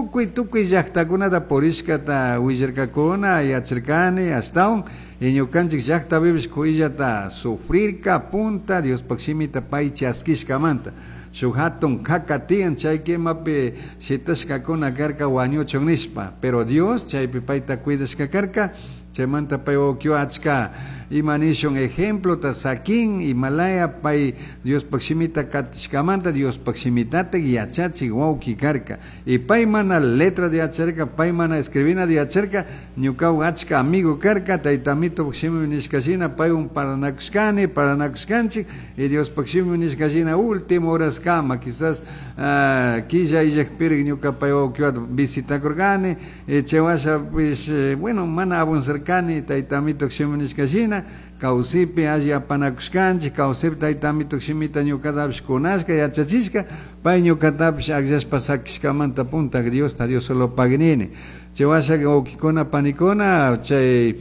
Tukuy tukuy llaqtakunata purishkata willarkakuna yacharkani ashtawan y ñukanchik llaqtapipish kuyllata sufrirka punta Diospaq shimita pay chaskishkamanta. Shuk hatun kaka tiyan chay kimapi shitashkakuna karka wañuchun nishpa, pero Dios chaypi payta cuidashka karka. Chaymanta pay wawkiwan achka ima nishun ejemplota sakin imalaya pay Diospaq shimita katishkamanta Diospaq shimitatik yachachik wawki karka. Y pay mana letra de yacharka, pay mana escribina de yacharka, ñukawan achka amigo karka, tayta Amitopak shimi nishka shina paywan parlanakushkani, parlanakushkanchik, y Diospaq shimi nishka shina último horaskama, quizás killa illakpirik ñuka pay wawkiwata visitakurkani, y chay washa pues, bueno, mana avanzarkani tayta Amitopak shimi nishka shina, kawsipi alli apanakushkanchik, kawsipi tayta Amitopak shimita ñukatapish kunashka, yachachishka, pay ñukatapish akllashpa sakishkamanta puntak Diosta Dios solo pagnini. Chay washaka wawkikuna panikuna, chay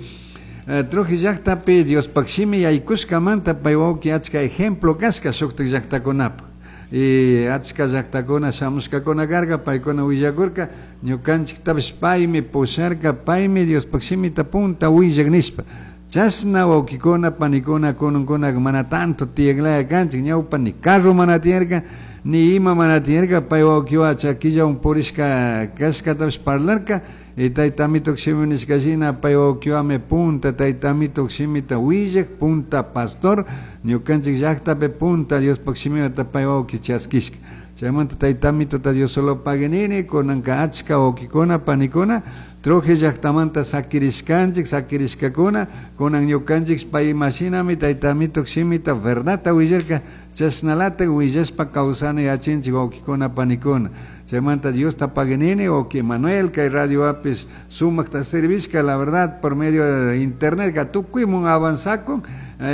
Trujillo llaqtapi Diospaq shimi yaykushkamanta pay wawki achka ejemplo kashka shuktik llaqtakunapaq. Y achka llaqtakuna shamushkakuna karka, paykuna willakurka, ñukanchiktapish paymi pusharka, paymi Diospaq shimita punta willak nishpa. Chashna wawkikuna panikuna kununkuna mana tanto tiyaklaya kanchik, ñawpa ni carro mana tiyarka, ni ima mana tiyarka, pay wawkiwan chakillawan purishka kashkatapish parlarka, y tayta Amitopak shimi nishka shina pay wawkiwanmi punta tayta Amitopak shimita willak, punta pastor, ñukanchik llaqtapi punta Diospaq shimita pay wawki chaskishka. Chaymanta tayta Amitota Dios solo pague nini, kunanka achka wawkikuna panikuna, Trujillo llaqtamanta sakirishkanchik, sakirishkakuna, kunan ñukanchik pay imashinami tayta Amitopak shimita verdadta willarka, chashnalatak willashpa kawsana yachinchik wawkikuna panikuna. Chaymanta Diosta pague nini, wawki Manuel, kay radio apis sumakta servishka, la verdad, por medio de internet, ka tukuymun avanzakun,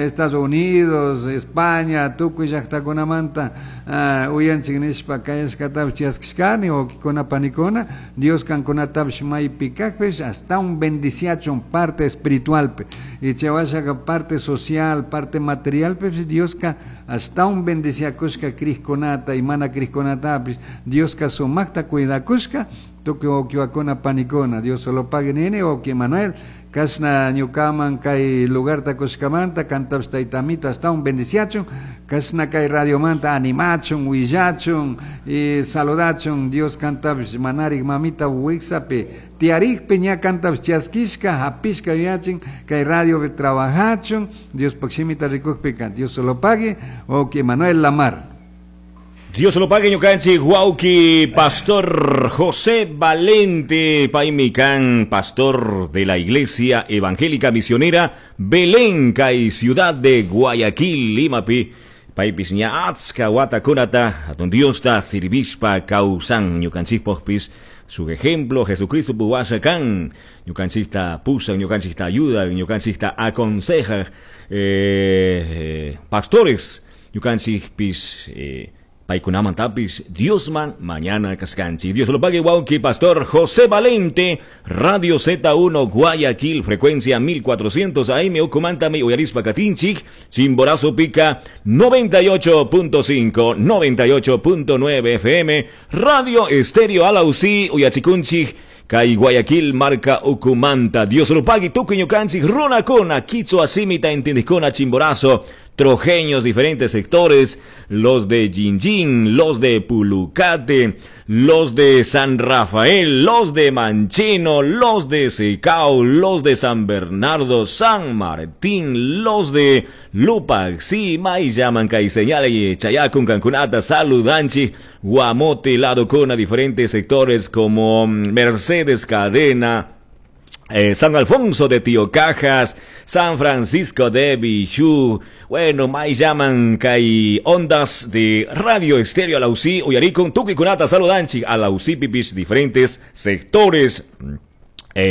Estados Unidos, España, tukuy llaqtakunamanta uyanchik nishpa kayashkatapish chaskishkani, wawkikuna panikuna, Dios kankunatapish maypi kajpish hasta un bendiciachun parte espiritualpi, y chay washaka parte social, parte materialpish Dioska hasta un bendiciakushka crijkunata y mana crijkunatapish Dioska sumakta cuidakushka, tukuy wawkiwakuna panikuna, Dios solo pague nini, wawki Manuel, kashna ñukaman kay lugarta kushkamanta, kantapish tayta Amito hasta un bendiciachun, kashna kay radiomanta animachun, willachun, y saludachun, Dios kantapish manarik mamita wiksapi, tiarikpi ña kantapish chaskishka, hapishka yachin, kay radiopi trabajachun, Diospaq shimita rikukpika, Dios solo pague, wawki Manuel Lamar. Dios lo pague, ñukanchik, wawki, Pastor José Valente Paimican, pastor de la Iglesia Evangélica Misionera Belén, kay Ciudad de Guayaquil, Limapi. Paypis ña achka watakunata, atun Diosta sirvishpa kawsan ñukanchikpaqpis. Su ejemplo, Jesucristo puwasha kan, ñukanchikta pusan, ñukanchikta ayuda, ñukanchikta aconseja, pastores, ñukanchikpis, paykunamantapis Diosman mañana kaskanchik. Dios lo pague, wawki, Pastor José Valente, Radio Z1 Guayaquil, frecuencia 1400 AM, ukumantami uyarispa katinchik, Chimborazo Pica 98.5, 98.9 FM, Radio Estéreo Alausí, uyachikunchik, kay Guayaquil, marca ukumanta. Dios lo pague, tukuy ñukanchik, runakuna, kichwa simita entendikuna, Chimborazo, trojeños, diferentes sectores, los de Jinjin, los de Pulucate, los de San Rafael, los de Mancheno, los de Secao, los de San Bernardo, San Martín, los de Lupaxi, Mayllaman, Caiseñale, Chayacun, Cancunata, Saludanchi, Guamote, Ladocona, diferentes sectores como Mercedes Cadena, San Alfonso de Tío Cajas, San Francisco de Bichú, bueno, mai llaman kay ondas de Radio Estéreo Alausí, Uyaricon, Tuquikunata, Saludanchi, Alausí, pipis, diferentes sectores.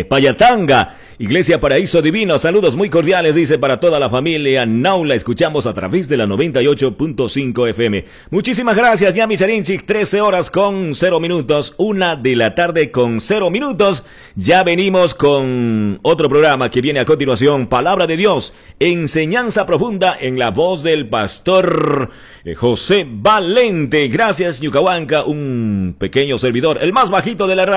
Payatanga, Iglesia Paraíso Divino, saludos muy cordiales, dice, para toda la familia Naula, escuchamos a través de la 98.5 FM. Muchísimas gracias, Yami Charinchik, 13 horas con 0 minutos, 1 de la tarde con 0 minutos. Ya venimos con otro programa que viene a continuación, Palabra de Dios, enseñanza profunda en la voz del pastor José Valente. Gracias, Ñucahuanca, un pequeño servidor, el más bajito de la radio.